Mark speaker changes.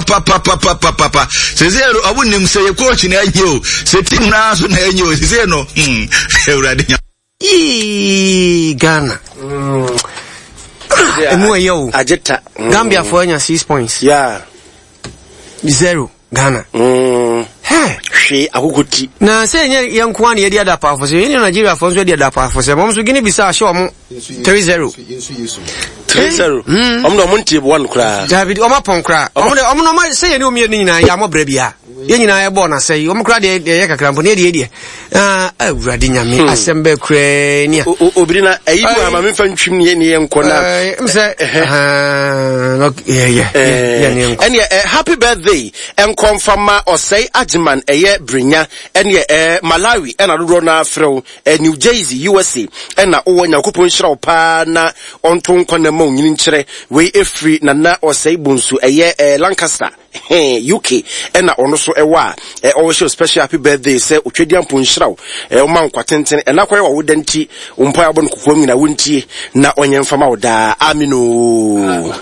Speaker 1: Papapapapapa sese no ɔmo nim sɛ yɛ coach na ɛnyɛ o sɛ team naa so na ɛnyɛ o sese no hmm awurade nya.
Speaker 2: Yee Ghana. Ah, emu ɛyɛ o.
Speaker 3: Agye ta.
Speaker 2: Gambia fo anya six points.
Speaker 3: Yeah.
Speaker 2: Zero Ghana. Hey.
Speaker 3: Hwee akoko ti.
Speaker 2: Na sɛ ɛnyɛ yɛn nko ara na yɛde adapaafo sɛ yɛne Nigeriafoɔ nso de adapaafo sɛ wɔn nso Guinea Bissau ahyɛ wɔn 3-0.
Speaker 3: 3-0. Wɔn na wɔn ntie one koraa.
Speaker 2: Dabi wɔn apɔn koraa. Wɔn de wɔn na wɔn sɛ yɛne wɔn mmienu nyinaa yɛ amɔ brɛ bia. Yɛn nyinaa yɛ bɔɔl na sɛ wɔn koraa deɛ deɛ yɛ kakra mpo ne yɛ deɛ deɛ. Ah awurade nyame hmm. asɛm bɛɛ koraa ni a.
Speaker 3: Obiri na ɛyi mu ama mi nfa ntwim ne yɛ ne yɛ nkɔ na.
Speaker 2: Ɛɛ sɛ yɛ yɛ yɛ ne nkɔ.
Speaker 3: Ɛnneɛ ɛ happy birthday nkɔnfama ɔsɛe agyeman ɛyɛ brenya ɛnneɛ ɛ Malawi ɛna dodoɔ naa frɛw ɛ New Jersey USA ɛna wowɔ Nyankopɔn nhyira wo paa na ɔnto nkwa na ma onyini nkyerɛ wei ɛfiri nana ɔsɛe bonsu ɛyɛ ɛ Lancaster. Hee UK ɛna ɔno so ɛwɔ a ɛ ɔwɔ hyɛ special happy birthday sɛ otwadiampo nhyira wo ɛ ɔma nkwa tenten ɛna kɔyɛ wawoda nti wo mpae abɔ no kokoam nyina wontie na ɔnyɛ mfama wo daa amen oo.